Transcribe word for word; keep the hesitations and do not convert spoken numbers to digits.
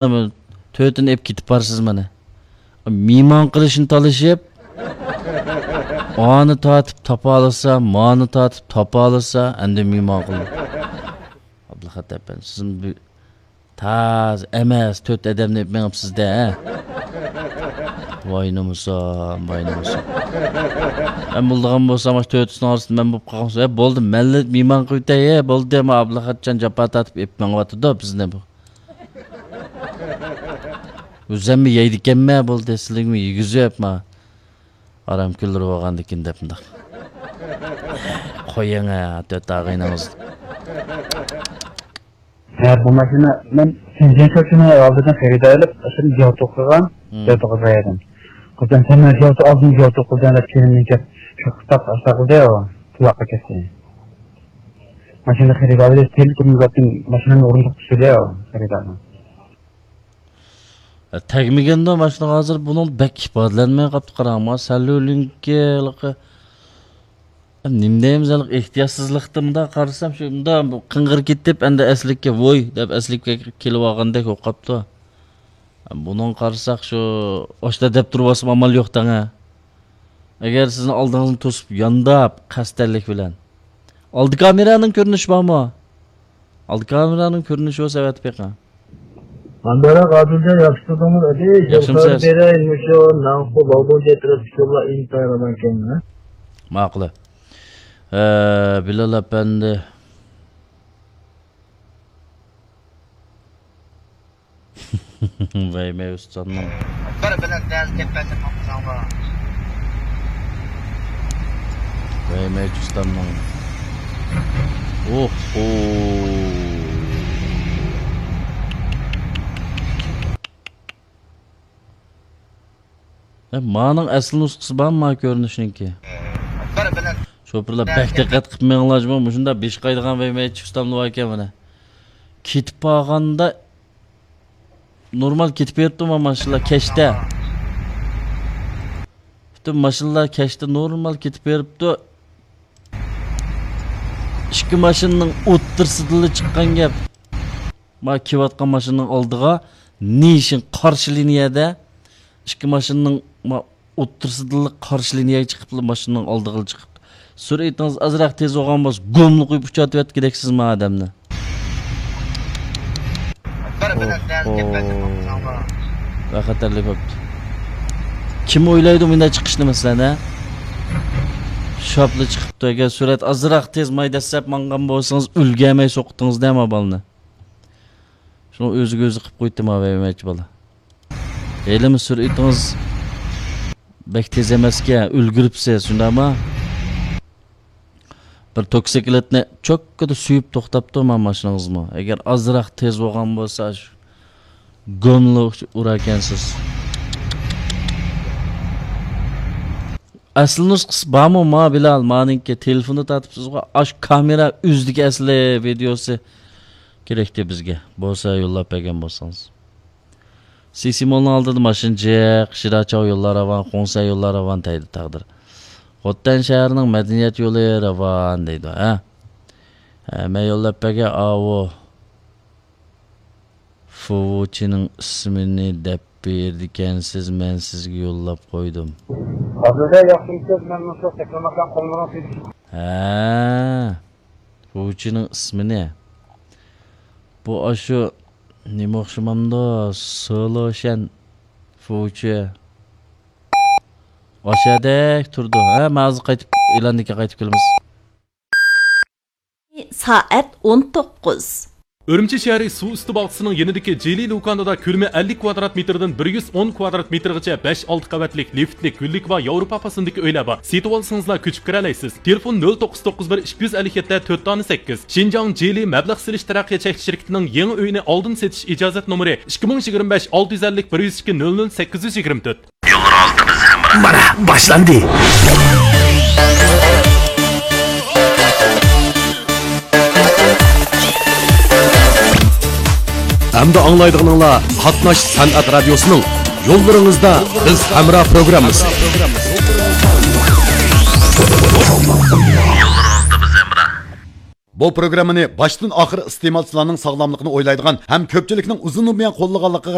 تۆتىنى ئېلىپ كېتىپ بارسىز مانا. مېھمان قىلىشنى تالىشىپ، ئانى تارتىپ تاپالىسا، مانى تارتىپ تاپالىسا، ئەمدى مېھمان قىلدى. ئابدۇلخەت ئەپەندى، سىزمۇ بۇ تازا ئەمەس، تۆت ئادەمنى ئېلىپ مېڭىپسىز-دە، ھە؟ ۋاي نومۇسۇم، ۋاي نومۇسۇم. مەن بولىدىغان بولسام، مانا تۆتىسىنىڭ ئارىسىدا مەن بولۇپ قالغان بولسام، ھە، بولدى، مەنلا مېھمان قىلىۋېتەي، ھە، بولدى، مانا ئابدۇلخەتجان جاپا تارتىپ ئېلىپ مېڭىۋاتىدۇ بىزنى بۇ. ئۆزۈممۇ يەيدىكەنمەن، بولدى، سىلىگىمۇ يېگۈزۈپ، ما. ئارام كۈنلىرى بولغاندىكىن دەپ مۇنداق. قويۇڭ، ھە، تۆت ئاغىنىڭىز. ھە، بۇ ماشىنا مەن شېنجېن شوچىنى ئالدىدىن خېرىدار ئېلىپ، ئاشۇنى جوتۇ قىلغان، مم. جوتۇ قىلغان ئىدىم. قىزىم، سەن مانا جوتۇ ئالدىن جوتۇ قىلدىڭ دەپ كېيىن مېنى شۇ قىستاق ئاشتا قىلدى، قۇلاققا كەتتى. ماشىنا خېرىدارى تېلېفون قىلىپ ماشىنىنى ئورۇندۇق چۈشۈردى خېرىدارنىڭ. تەگمىگەندۇ ماشىنىغا ھازىر بۇنىڭ بەك ئىپادىلەنمەي قاپتۇ قاراڭ. ما سەلۇلىنكى ھېلىقى نېمە دەيمىز، ھېلىقى ئېھتىياتسىزلىقتا مۇنداق قارىسام شۇ مۇنداق بۇ قىڭغىر كېتىپ ئەمدى ئەسلىككە ۋوي دەپ ئەسلىككە كېلىۋالغاندەك بولۇپ قاپتۇ. بۇنىڭغا قارىساق شۇ ئاشتا دەپ تۇرۇۋالسام ئامال يوق دەڭە. ئەگەر سىزنىڭ ئالدىڭىزنى توسۇپ يانداپ قەستەنلىك بىلەن. ئالدى كامېرانىڭ كۆرۈنۈشى بارمۇ؟ ئالدى كامېرانىڭ كۆرۈنۈشى بولسا ئەۋەتىپ بېقىڭ. مانداراق ئادىلجان ياخشى تۇردۇڭمۇ ئەدى؟ ياخشىمۇسىز؟ بېرەي مۇشۇ ناڭخۇ باۋدۇڭجى ئەتراپتىكى يوللار ئىنتايىن ئامان ئىكەن. ماقۇل. ھە، بىلال ئەپەندى. ۋەي مەي ئۇستامنىڭ. بىر بىلەن دەل گەپ بەرسەم ماڭمىساڭلار. ۋەي مەي ئۇستامنىڭ. ئوھو. ھە، مانىڭ ئەسلى نۇسخىسى بارمۇ، ما كۆرۈنۈشنىڭكى؟ شوپۇرلار بەك دىققەت قىلىپ مېڭىڭلار جۇمۇ، مۇشۇنداق بېشى قايىدىغان ۋەي مەي ئۇستاملار باركەن مانا. كېتىپ بارغاندا نورمال كېتىپ بېرىپتۇ ما ماشىنىلار كەچتە. پۈتۈن ماشىنىلار كەچتە نورمال كېتىپ بېرىپتۇ. ئىككى ماشىنىنىڭ ئوتتۇرىسىدىنلا چىققان گەپ. ما كېلىۋاتقان ماشىنىنىڭ ئالدىغا نىشان قارشى لىنىيەدە ئىككى ماشىنىنىڭ ما ئوتتۇرىسىدىنلا قارشى لىنىيەگە چىقىپلا ماشىنىنىڭ ئالدىغىلا چىقىپتۇ. سۈرئىتىڭىز ئازراق تېز بولغان بولسا گۇملا قويۇپ ئۇچاتىۋەتكۈدەكسىز ما ئادەمنى. بىر بىلەن دەل گەپ بەرسەم ماڭمىساڭلار. ۋە خەتەرلىك بوپتۇ. كىم ئويلايدۇ مۇنداق چىقىشنى مەسىلەن ھە؟ شاپلا چىقىپتۇ. ئەگەر سۈرئەت ئازراق تېز ماي دەسسەپ ماڭغان بولسىڭىز ئۈلگەرمەي سوقتىڭىز دە ما بالىنى. شۇڭا ئۆزىگە ئۆزى قىپ قويدى ما ۋەيمەچ بالا. ھېلىمۇ سۈرئىتىڭىز بەك تېز ئەمەسكەن، ئۈلگۈرۈپسىز، شۇنداقمۇ؟ بىر توكسىكلېتنى چوككىدا سۆيۈپ توختاپتۇ ما ماشىنىڭىزمۇ. ئەگەر ئازراق تېز بولغان بولسا، شۇ گوملا ئۇراركەنسىز. ئەسلى نۇسخىسى بارمۇ ما بىلال؟ مانىڭكى تېلېفوندا تارتىپسىزغۇ. ئاش كامېرا ئۆزىدىكى ئەسلى ۋىدېئوسى كېرەكتى بىزگە. بولسا يوللاپ بەرگەن بولسىڭىز. سىسىمولنىڭ ئالدىدا ماشىنا جىق، شىراچاۋ يوللار راۋان، خۇڭسەن يوللار راۋان دەيدۇ تەقدىر. خوتەن شەھىرىنىڭ مەدەنىيەت يولى راۋان دەيدۇ، ھە؟ ھە، مەن يوللاپ بەرگەن ئاۋۇ. فۇۋۇچىنىڭ ئىسمىنى دەپ بېرىدىكەنسىز، مەن سىزگە يوللاپ قويدۇم. ئابدۇللا ياخشىمۇسىز؟ مەن مۇشۇ تەكرىماكان قوللىرىڭ تېگىشى. ھە، فۇۋۇچىنىڭ ئىسمىنى. بۇ ئاشۇ نېمە ئوخشىمامدۇ؟ سولوشەن فۇچى. ئاشەدەك تۇرىدۇ. ھە، مەن ھازىر قايتىپ، ئېلاندىن كېيىن قايتىپ كېلىمىز. سائەت ئون توققۇز. ئۈرۈمچى شەھىرى سۇ ئۈستى باغچىسىنىڭ يېنىدىكى جىلى لۇكاندىدا كۆلىمى ئەللىك كۋادرات مېتىردىن بىر يۈز ئون كۋادرات مېتىرغىچە بەش ئالتە قەۋەتلىك لىفتلىك، گۈللۈك ۋە ياۋروپا پاسوندىكى ئۆيلەر بار. سېتىۋالسىڭىزلا كۆچۈپ كىرەلەيسىز. تېلېفون نۆل توققۇز توققۇز بىر ئىككى يۈز ئەللىك يەتتە تۆت دانە سەككىز. شىنجاڭ جىلى مەبلەغ سېلىش تەرەققىيات چەكلىك شىركىتىنىڭ يېڭى ئۆيىنى ئالدىن سېتىش ئىجازەت نومۇرى ئىككى مىڭ يىگىرمە بەش ئالتە يۈز ئەللىك بىر يۈز ئىككى نۆل نۆل سەككىز يۈز يىگىرمە تۆت. مانا باشلاندى. ئەمدى ئاڭلايدىغىنىڭلار قاتناش سەنئەت رادىيوسىنىڭ يوللىرىڭىزدا بىز ھەمراھ پروگراممىسى. يوللىرىڭىزدا بىز ھەمراھ. بۇ پروگراممىنى باشتىن ئاخىر ئىستېمالچىلارنىڭ ساغلاملىقىنى ئويلايدىغان ھەم كۆپچىلىكنىڭ ئۇزۇننى بۇيان قوللىغانلىقىغا